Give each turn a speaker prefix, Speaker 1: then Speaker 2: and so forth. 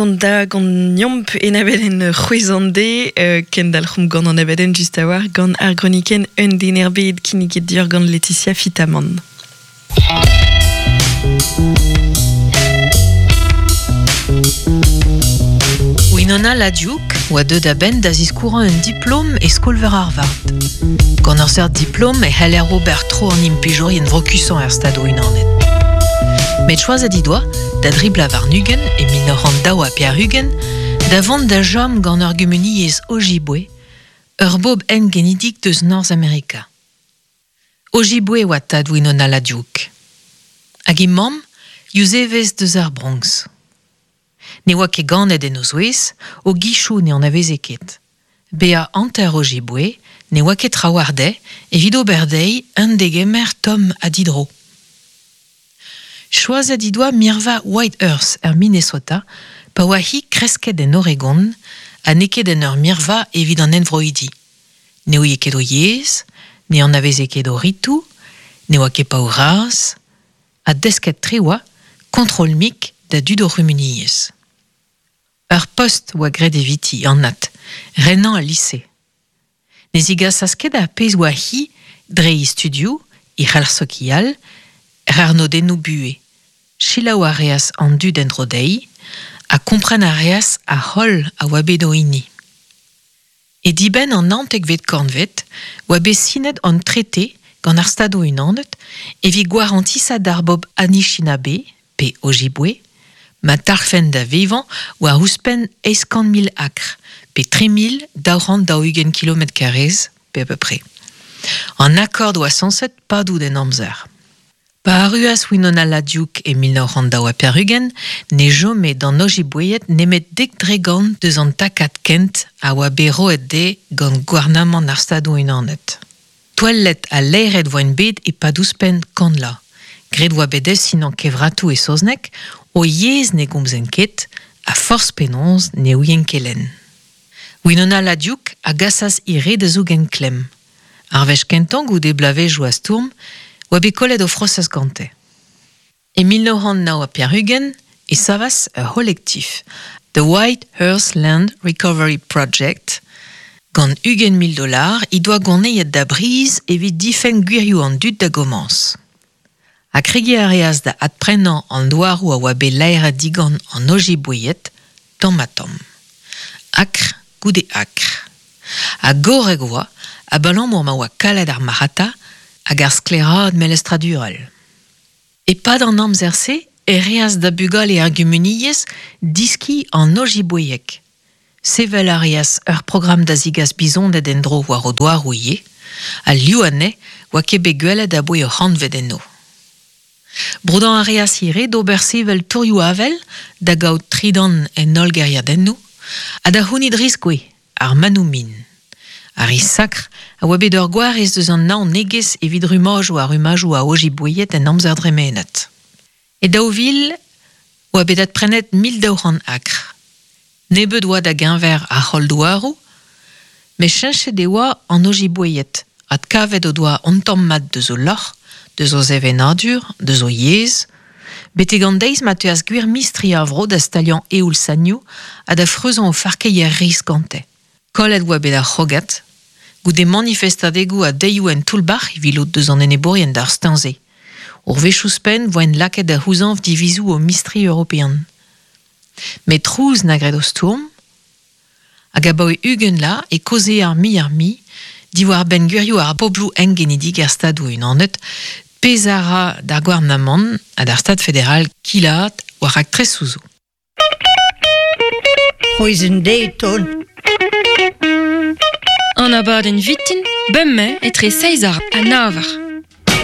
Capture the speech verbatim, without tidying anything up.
Speaker 1: Da gant nyomp en abeden c'hwezande euh, kendal c'homp gant an abeden just a war gant ar groniken un den er bed kinniget dior gant Laetitia Fitamant.
Speaker 2: Winona LaDuke oa deut a-benn da ziskourañ un diplom e skol-veur Harvard. Gant ur seurt diplom e c'heller ober tro an implijourien vrokusañ er stadoù unanet. Met choazet he doa, da dribla war-ugent e mil nav c'hant daou ha pevar-ugent, da vont da chom gant ur gumuniezh Ojibwe, ur bobl engenidik deus Norzh-Amerika. Ojibwe oa tad Winona LaDuke. Hag he mamm, Yuzevez deus ar Bronx. Ne oa ket ganet en o zouez, o gichoù ne anaveze ket. Bezañ hanter Ojibwe ne oa ket trawalc'h dezhe evit ober dezhi un degemer tomm ha didro. Choazet he doa mirva White Earth er Minnesota pa oa hi kresket en Oregon ha n'eo ket en ur mirva evit an henvroidi. Ne ouie ket o yezh, ne anaveze ket o ritoù, ne oa ket paour-razh, ha desket tre oa kontrol-mik da dud o c'humuniezh. Ur post oa graet eviti, anat, renañ al lise. Ne zigasas ket ar pezh oa hi dre he studioù, he c'helc'h sokial, er arnodennoù buhez. Selaou a reas an dud en-dro dezhi ha kompren a reas ar c'holl a oa bet o hini. E dibenn an naontekvet kantved oa bet sinet an trete gant ar Stadoù Unanet evit gwarantisañ d'ar bobl Anishinaabe, pe Ojibwe, ma talc'hfent da vevañ war ouzhpenn eizh kant mil akr, pe tri mil daou c'hant daou-ugent kilometr karrez, pe à peu près. An akord oa sañset padout en amzer. Pa arruas Winona LaDuke e mil nav c'hant daou ha pevar-ugent, ne chome d'an Ojibwéed nemet dek dregont deus an takad kent a oa bet roet dezhe gant gouarnamant ar Stadoù Unanet. Touellet ha laeret voent bet e-pad ouzhpenn kant vloaz. Graet oa bet dezhe sinañ kevratoù e saozneg, o yezh ne gomzent ket, ha forzh penaos ne ouient ket lenn. Winona LaDuke a gasas he re da zougen klemm. Ar wech kentañ goude bloavezhioù a stourm, oa bet kollet o frosez gante. E mil nav c'hant nav ha pevar-ugent e savas ur c'holektif, The White Earth Land Recovery Project, gant ugent mil dollars he doa gonezet da briz evit difenn gwirioù an dud da gomañs. Ha kregiñ a reas da adprenañ an douaroù a oa bet laeret digant an Ojibwéed tamm-ha-tamm. Akr goude akr. Ha gorrek oa, abalamour ma oa kalet ar marc'hata hag ar sklaeraat melestradurel. E-pad an amzer-se e reas da bugale ar gumuniezh diskiñ an Ojibwéeg. Sevel a reas ur programm da zigas bizoned en-dro war o douaroù ivez, ha liv anezhe oa ket bet gwelet aboe ur c'hantved enno. Broudañ a reas ivez d'ober sevel tourioù avel da gaout tridan en holl gêriadennoù ha da c'hounit riskouez ar manoù-min. Ar riz sakr a oa bet ur gwarez deus an naonegezh evit rummajoù ha rummajoù a Ojibwéed en amzer dremenet. E daou vil oa bet adprenet mil daou c'hant akr. Nebeut oa da geñver ar c'holl douaroù, met cheñchet e oa an Ojibwéed, adkavet o doa un tamm mat deus o lorc'h, deus o sevenadur, deus o yezh, betek an deiz ma teuas gwir mistri ar vro da staliañ eoul-sanioù ha da freuzañ o farkeier riz gante. Kollet oa bet ar c'hrogad, goude manifestadegoù ha deioù en toull-bac'h evit lod deus an enebourien d'ar steuñv-se. Ur wech ouzhpenn voent lakaet da c'houzañv divizoù o mistri european. Met trouz na graet o stourm, hag abaoe ugent vloaz e kaoze ar mi ar mi diwar-benn gwirioù ar pobloù engenidik er Stadoù Unanet, pezh a ra d'ar gouarnamant ha d'ar Stad federal kilaat war raktresoù zo.
Speaker 3: C'hwezh deiz ton.
Speaker 4: An abadenn vitin, bemdez etre seizh eur ha nav eur.